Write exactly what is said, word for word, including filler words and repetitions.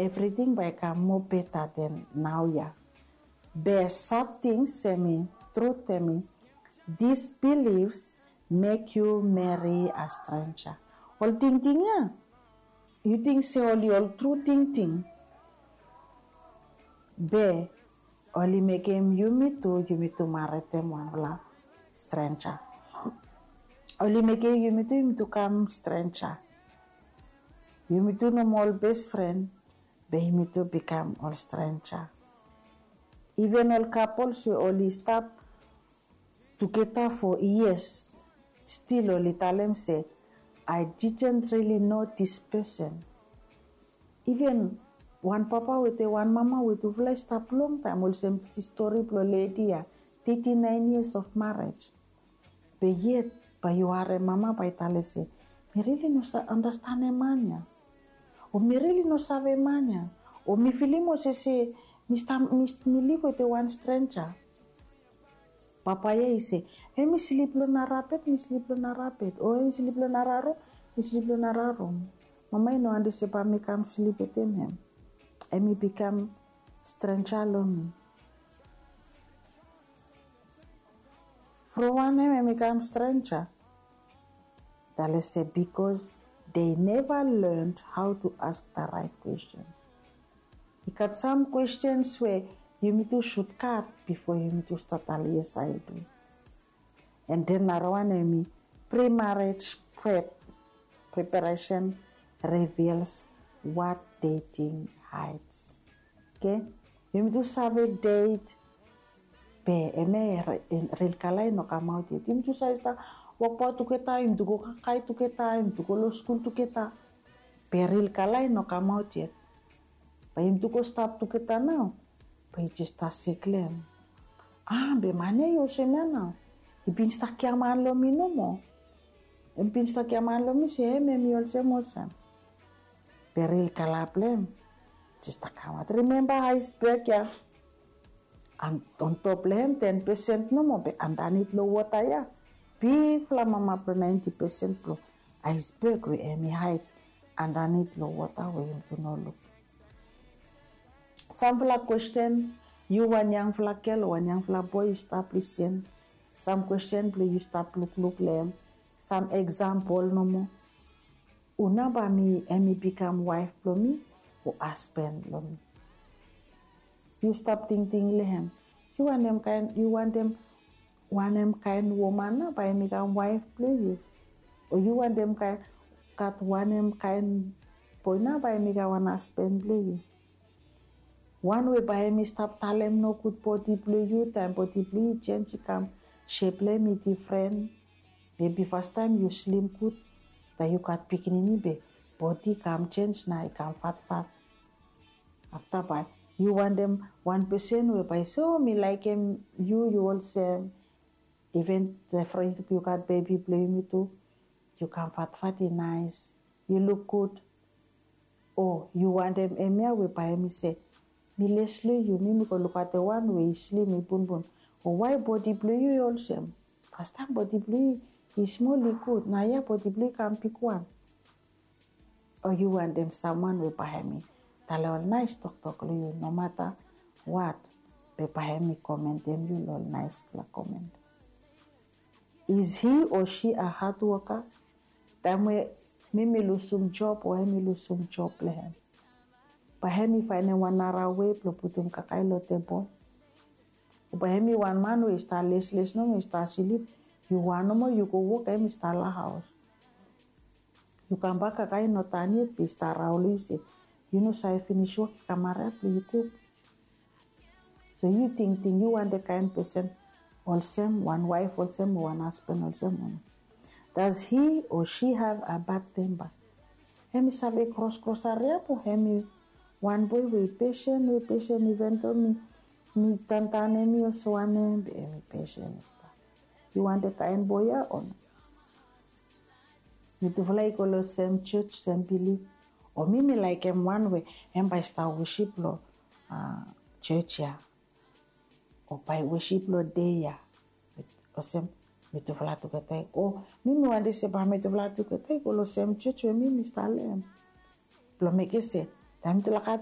evriting bae i kam moa beta den naoia. Be sad tings hemi, trut hemi, disbeliefs mek yu meri a strenja. Ol tingting ya, yu ting se oli ol tru tingting. Be oli mekem yumitu, yumitu maretem wanfala strenja. Oli mekem yumitu, yumitu kam strenja. Yumitu nomo ol best friend, be yumitu bikam ol strenja. Even ol couples we oli stap tugeta for years, still oli talem se, I didn't really know this person. Even wan papa wetem wan mama we tufala i stap longtaem, olsem stori blong ledi ya, thirty nine years of marriage. Be yet bae yu harem mama bae i talem se, mi rili no understanem man ya. O mi rili no save man ya. O mi filim olsem se mi stap, mi, mi liv wetem wan strenja. Papa ya i se, hemi slip long nara bed, mi slip long nara bed. O hemi slip long nara rum, mi slip long nara rum. Mama i no wantem se bae mi kam slip wetem hem. Hemi bikam strenja long mi. From wanem hemi kam strenja? Talem se because they never learned how to ask the right questions. I gat sam questions we yumitu should gat before yumitu stap talem yes I do. And then nara wan hemi pre-marriage prep, preparation reveals what dating hides. Okay? Yumitu save date, be hemia ril kala i no kamaot yet. Yumitu save stap wokbaot tugeta, yumitu go kakae tugeta, yumitu go long skul tugeta. Be ril kala i no kamaot yet. Bae yumitu go stap tugeta nao. Bae yu jes stap sek long hem. A, be man ya i olsem ya nao. I bin stap giaman long mi nomo. I bin stap giaman long mi se hem, hemi olsem, olsem. Be ril kala blong hem jes stap kamaot. Rimemba iceberg ya. Antop long hem ten pesen nomo, be andanit long wota ya bigfala mama blong ninety pesen blong iceberg we hemi haed andanit long wota we yumitu no luk. Samfala kwesten, yu wan yangfala gel o wan yangfala boe yu stap lisin. Sam kwesten blong yu stap lukluk long hem. Sam eksampol nomo. Hu nao bae mi, hemi bikam waef blong mi o hasben blong mi? Yu stap tingting long hem. Yu wantem kaen, yu wantem wanem kaen woman nao bae hemi kam waef blong yu? O yu wantem kaen, gat wanem kaen boe nao bae hemi kam wan hasben blong yu? Wan we bae hemi stap talem nogud bodi blong yu, taem bodi blong yu i jenj, i kam, sep blong hem i difren. Mebi fastaem yu slim gud, taem yu gat pikinini be bodi i kam jenj nao i kam fatfat. Afta bae yu wantem wan pesen we bae i se, o, mi laekem yu, yu olsem. Iven from yu gat bebi blong yumitu, yu kam fatfat, i naes, yu luk gud. O yu wantem hemia we bae hemi se, mi les long yu, mi, mi go lukaotem wan we i slim, i bunbun. O wae bodi blong yu i olsem? Fastaem bodi blong yu i smol, i gud. Naoia bodi blong yu i kam bigwan. O yu wantem samwan we bae hemi talem ol naes toktok long yu, no mata wat, be bae hemi komentem yu long ol naesfala komen. Is he or she a hard worker? Taem we mi mi lusum job o hemi lusum job blong hem, bae hemi faenem wan nara wei blong putum kakae long tebol? O bae hemi wan man we i stap lesles nomo, i stap slip, yu wan nomo yu go wok, hemi stap long haos. Yu kambak, kakae i no tan yet be i stap raon long yu se yu no save finis wok, i kam hariap blong yu kuk. So yu tingting, yu wantem kaen pesen olsem, wan waef olsem o wan hasben olsem o no? Does he or she have a bad temper? Hemi save kroskros hariap o hemi wan boe we i pesen, we i pesen, iven do mi, mi tantan hemi olsem wanem be hemi pesen i stap. Yu wantem kaen boe ya o no? Mitufala i go long sem jos, sem bilif. O mi mi laekem wan we hem bae i stap wosip long jos ya. O bae i wosip long dei ya. Olsem mitufala tugeta i go. Mi mi wantem se bae mitufala tugeta i go long sem jos we mi mi stap long hem. Blong mekem se taem mitufala gat